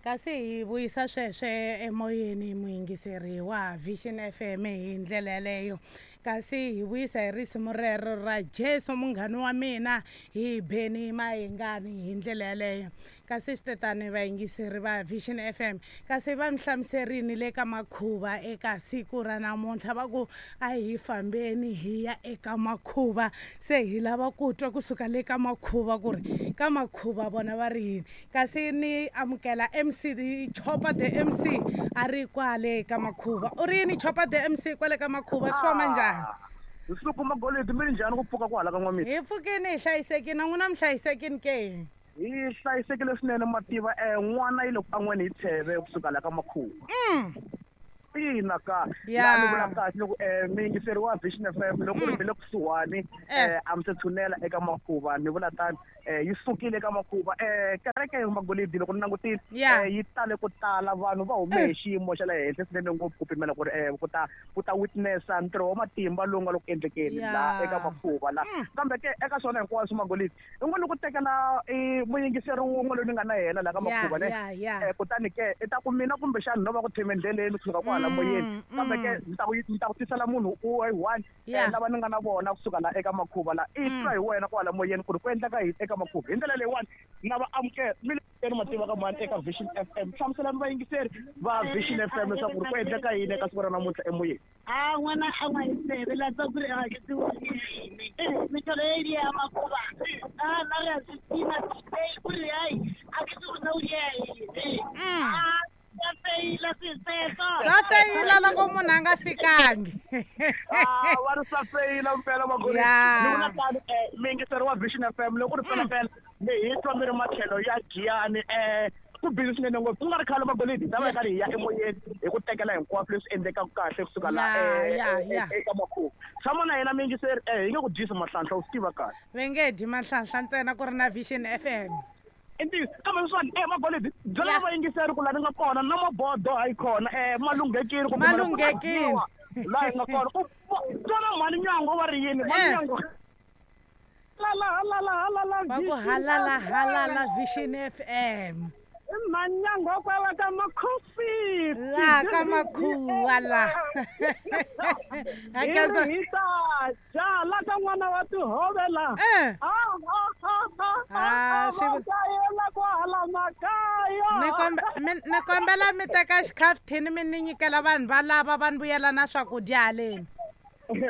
Kasi hi vuyisa sweswe emoyeni muyingiseri wa Vision FM hi ndlela yaleyo. Kasi hi vuyisa hi risimu rero ra Jesu munghani wa mina hi Benny Mayengani hi ndlela yaleyo. Kasi swi vayingiseri va Vision FM kasi va mi hlamuserini le ka makhuva eka siku ra namuntlha va ku a hi fambeni hi ya eka makhuva se hi lava ku twa kusuka le ka makhuva ku ri ka makhuva vona va ri yini kasi ni amukela MC Chopa the MC a ri kwale ka makhuva u ri yini Chopa the MC kwale ka makhuva swi famba njhani Nsuku Magolidi mi ri njhani ku pfuka kwala ka n'wamiti hi pfukini hi hlayisekini na n'wina mi hlayisekini ke hi hlayisekile swinene mativa n'wana yi le ku an'weni hi tsheve kusuka la ka makhuva ina ka laha ni vula kahle loko muyingiseri wa Vision FM loko ri mi le kusuhani a mi se tshunela eka makhuva ni vula tani yi sukile eka makhuva kereke Magolidi loko ni langutile yi tale ku tala vanhu va hume hi xiyimo xa le henhla swinene ngopfu ku pimela ku ri ku ta witnessa ntirho wa matimba lowu nga le ku endlekeni laha eka makhuva la kambe ke eka swona hinkwaswo Magolidi i ngo ni ku tekela i muyingiseri wun'we loyi ni nga na yena laha ka makhuva ne kutani ke i ta ku mina kumbexani no va ku theme endleleni kusuka kwahala moyeni kambe ke ni ta ku ni ta ku tisela munhu u one lava ni nga na vona kusuka la eka makhuva la i twa hi wena kwala moyeni ku ri ku endleka yini eka makhuva hi ndlela leyiwani na va amukela mi le mativa ka mani eka Vision FM hlamuselani vayingiseri va Vision FM leswaku ri ku endleka yini eka siku ra namuntlha emoyeni a n'wana a n'wa hi tseve la tsa ku ri a ke tsebo metholo e di ya makhuva a na re a swi tima ku ri hai a ke tse go na o di ya eng swa feyila swisweswo swa feyila loko munhu a nga fikangi va ri swa feyila mpela makori ni vula tani muyingiseri wa Vision FM loko ri pelapela mi hi twa mi ri matlhelo ya Giyani ku busy swinene ngopfu ku nga ri khale Magolidi hi ta va hi karhi hi ya emoyeni hi ku tekela hinkwaswo leswi endlekaka kahle kusuka la eka makhuva tshama na yena muyingiseri hi nge ku dyisi mahlanhla u swi tiva kahle va nge dyi mahlanhla ntsena ku ri na Vision FM i ntiyiso kambe sweswiwani Magolidi byela vayingiseri ku laha ni nga kona na mabodo hayi kona malunghekile ku malunghekile laha hi nga kona ku twana mhani Nyango va ri yini mhani Nyango halala halala halala va ku halala halala Vision FM Manyango kwala ka makhosi la ka makhuwa la hi ta ja la ka n'wana wa tihove la kayela kwahala makaya ni kombela mi teka xikhafuthini mi ni nyikela vanhu valava va ni vuyela na swakudya haleni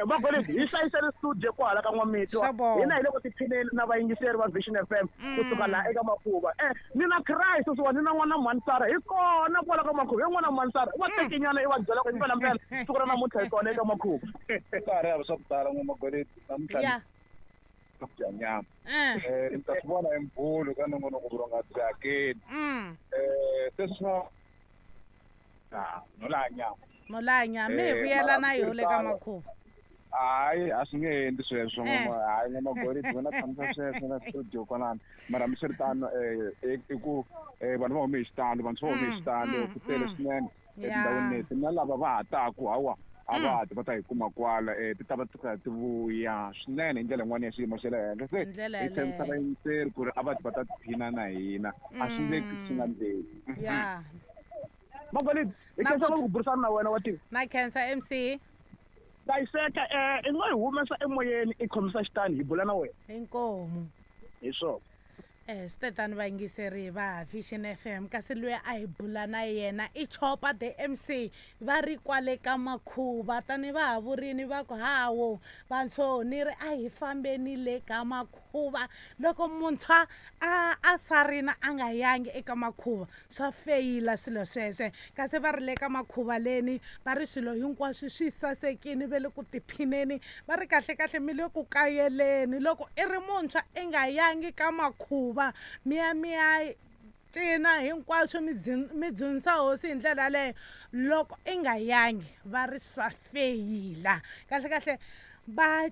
Magolidi hi hlayisele studio kwala ka N'wamitwa hina hi le ku tiphineni na vayingiseri va Vision FM kusuka laha eka makhuva ni na Christ sweswiwani ni na n'wana Mhanisara hi kona kwala ka makhuva hi n'wana Mhanisara i va tekenyana i va byela ku impela mpela siku ra namuntlha hi kona eka makhuva ka ha ri hava swa ku tala N'wa-Magolidi namuntlha ku dya nyama ni ta swi vona hi mbhulu ka nongonoko vurhonga byi hakeli se swa no laha nyama no laha nyama mi hi vuyela na yo le ka makhuva hayi a swi nge endli sweswo hayi N'wa-Magolidi wena tshamisa sweswo na studio kwalano mara hambiswiritano i ku vanhu va hume hi xitalo vantshwa va hume hi xitalo ku tele swinene etindhawini leti na lava va ha taku hawa a va ti va ta hi kuma kwala ti ta va ti karhi ti vuya swinene hi ndlela yin'wana ya xiyimo xa le henhla se hi tshembisa vayingiseri ku ri a va ti va ta tiphina na hina a swi nge swi nga ndleki Magolidi hi khensa ku burisana na wena wa tiva na khensa MC hlayiseka i nga hi humesa emoyeni i khomisa xitani hi bula na wena inkomu hi swona swi tetani vayingiseri va Vision FM kasi loyi a hi bula na yena i Chopa the MC va ri kwale ka makhuva tani va ha vurini va ku hawo vantshwa ni ri a hi fambeni le ka makhuva loko muntshwa a sarina a nga yangi eka makhuva swa feyila swilo sweswe kasi va ri le ka makhuva leni va ri swilo hinkwaswo swi sasekini ve le ku tiphineni va ri kahle kahle mi le ku kayeleni loko i ri muntshwa i nga yangi ka makhuva mi ya mi ya cina hinkwaswo mi dzunisa hosi hi ndlela yaleyo loko i nga yangi va ri swa feyila kahle kahle va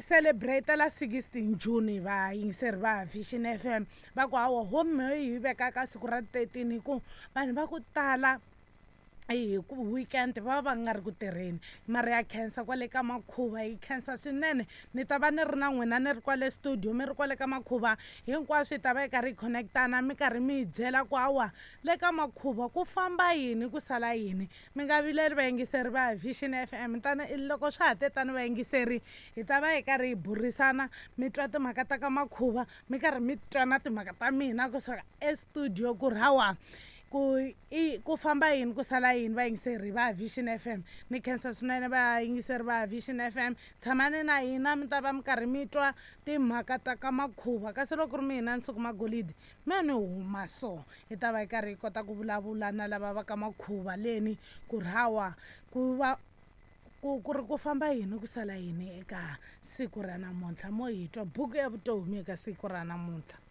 celebrate la 16 June vayingiseri va Vision FM va ku hawa home hi vekaka siku ra 13 hi ku vanhu va ku tala Hi ku weekend va va nga ri ku tirheni. Mara ya khensa kwale ka Makhuva, yi khensa swinene. Ni ta va ni ri na n'wina, ni ri kwale studio, mi ri kwale ka Makhuva, hinkwaswo hi ta va hi karhi hi connectana, mi karhi mi hi byela ku hawa le ka Makhuva ku famba yini, ku sala yini. Mi nga vileli, vayingiseri va Vision FM. Tani loko swa ha te tani, vayingiseri, hi ta va hi karhi hi burisana, mi twa timhaka ta ka Makhuva, mi karhi mi twa na timhaka ta mina kusuka estudio, ku ri hawa ku i ku famba yini, ku sala yini. Vayingiseri va Vision FM, ni khensa swinene. Vayingiseri va Vision FM, tshamani na hina, mi ta va mi karhi mi twa timhaka ta ka Makhuva. Kasi loko ri mina Nsuku Magolidi, me ni huma so hi ta va hi karhi hi kota ku vulavula na lava va ka Makhuva leni, ku ri hawa ku va ku ri ku famba yini, ku sala yini eka siku ra namuntlha. Mo hi twa buku ya vutomi eka siku ra namuntlha.